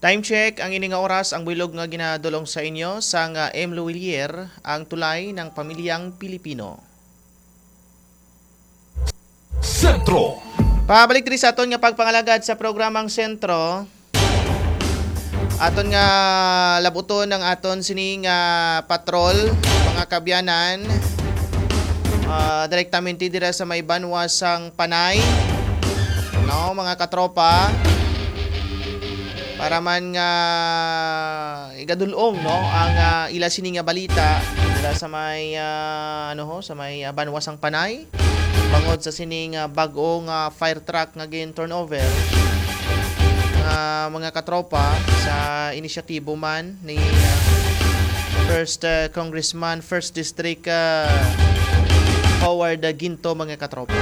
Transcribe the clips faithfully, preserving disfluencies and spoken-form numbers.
Time check, ang ini nga oras, ang buylog nga ginadulong sa inyo sang M. Luwilier, ang tulay ng pamilyang Pilipino. Sentro. Pabalik diri sa aton nga pagpangalagad sa programang Sentro. Aton nga labuton ang aton sini nga patrol, mga kabyanan. Ah, direktamente dira sa may banwa sang Panay. No, mga katropa. Para man nga igadulong, no, ang ah, ila sini nga balita dira sa may ah, ano ho, sa may ah, banwa sang Panay. Bangod sa sining ah, bag-o nga fire truck nga gin turnover nga mga katropa sa inisyatibo man ni ah, First ah, Congressman, First District ah, Howard ah, Ginto, mga katropa.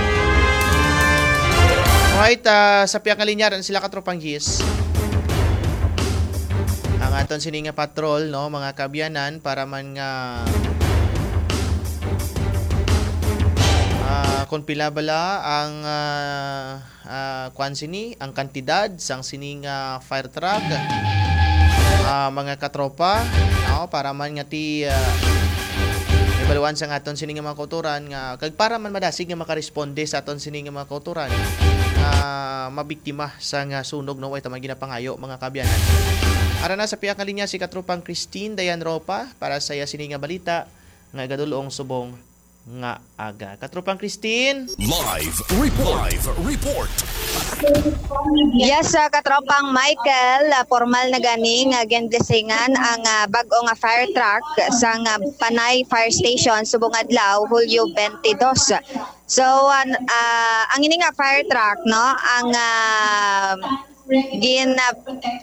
Right, ah, sa pihak nga linya rin sila katropang Gis. Ang aton sini nga patrol, no, mga kabyanan, para man nga ah, kung pila bala ang ah, ah, kwan sini, ang kantidad sang sini nga fire truck, ah, mga katropa, no, para man nga ti ah, ibaluan sang aton sini nga mga kauturan nga kag para man madasig nga makaresponde sa aton sini nga mga kauturan nga mabiktima sa nga sunog, no, way ta man ginapangayo, mga kabyanan. Ara na sa pihak nga linya si katropang Christine Dayan Ropa para sa iya sini nga balita nga igadulong subong nga aga. Katropang Christine. Live report. Live report. Yes, sa katropang Michael, ah, formal na gani nga ginblessingan ang ah, bag-o nga fire truck sa nga Panay Fire Station subong adlaw, Hulyo twenty-two. So an- ah, ang ini nga fire truck, no, ang ah, gin ah,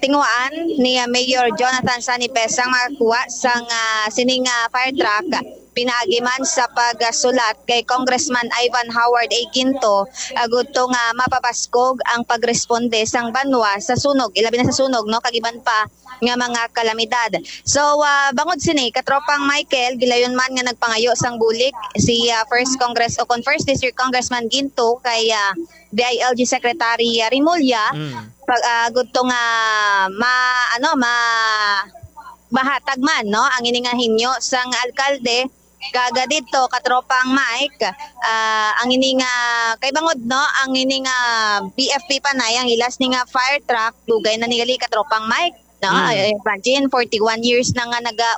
tinguhaan ni ah, Mayor Jonathan Sanipes ang makakuha sang ah, sining ah, fire truck pinaagi man sa pagsulat kay Congressman Ivan Howard A. Ginto agud to nga mapabaskog ang pagresponde sang banwa sa sunog, ilabi na sa sunog, no, kag iban pa nga mga kalamidad. So ah, bangod sini, katropang Michael, gilayon man nga nagpangayo sang bulig si ah, First Congress o kon First District Congressman Ginto kay ah, D I L G Secretary ah, Remulla Mm. pag agud to nga ma ano ma mahatag man, no, ang ini nga hinyo sang alkalde. Kaga dito, katropang Mike, ah, ang ini nga kay bangod, no, ang ini nga B F P Panay, ang ila sini nga fire truck, dugay na ni gali, katropang Mike, no. Mm. Imagine, forty-one years na nga naga